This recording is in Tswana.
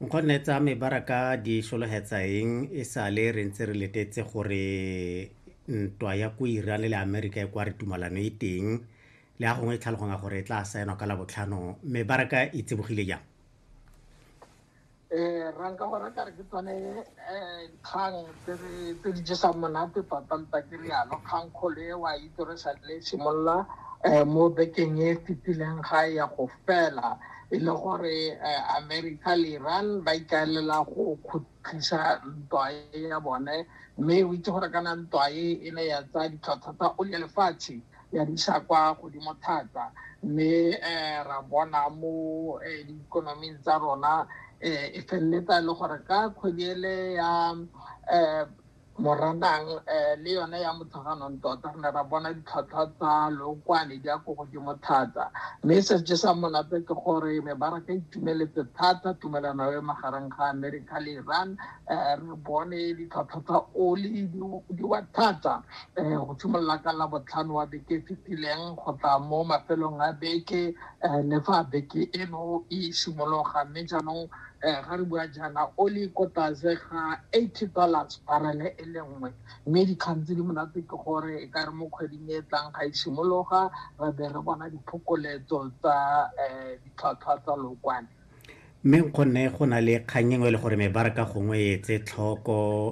Nkgonne, tsa mebaraka di sologetsa eng e sale re ntse re letetse gore ntwa ya ko Iran le Amerika e kwa re tumalano e teng, le a gongwe e tlhaloganya gore e tla saenwa ka Labotlhano, mebaraka e tsibogile jang? Ranka gore ka re ke tsone dikgang tse di jesang monate tota, nta ke rialo. Kgang kgolo e wa itse re sa le simolola mo bekeng e fetileng ga ya go fela, e le gore America le Iran ba ikaelela go khutlisa ntwa e ya bone. Mme o itse gore kana ntwa e e ne ya tsaya ditlhwatlhwa tsa oli ya lefatshe ya di isa kwa godimo thata, mme ra bona mo diikonoming tsa rona e feleletsa e le gore ka kgwedi ele ya Moranang le yone ya Motsheganong tota re ne ra bona ditlhwatlhwa tsa lookwane di ya ko godimo thata. Mme se se jesang monate ke gore mebaraka e itumeletse thata tumelano e magareng ga America le Iran. Re bone ditlhwatlhwa tsa oli di wa thata go simolola ka Labotlhano wa beke e fetileng go tla mo mafelong a beke le fa beke eno e simologa. Mme jaanong ga re bua jaana, oli ko tlase ga $80 barele e le nngwe. Mme dikgang tse di monate ke gore e ka re mo kgweding e tlang ga e simologa, re be re bona diphokoletso tsa ditlhwatlhwa tsa lookwane. Mme nkgonne, go na le kgang engwe e le gore mebaraka gongwe e etse tlhoko.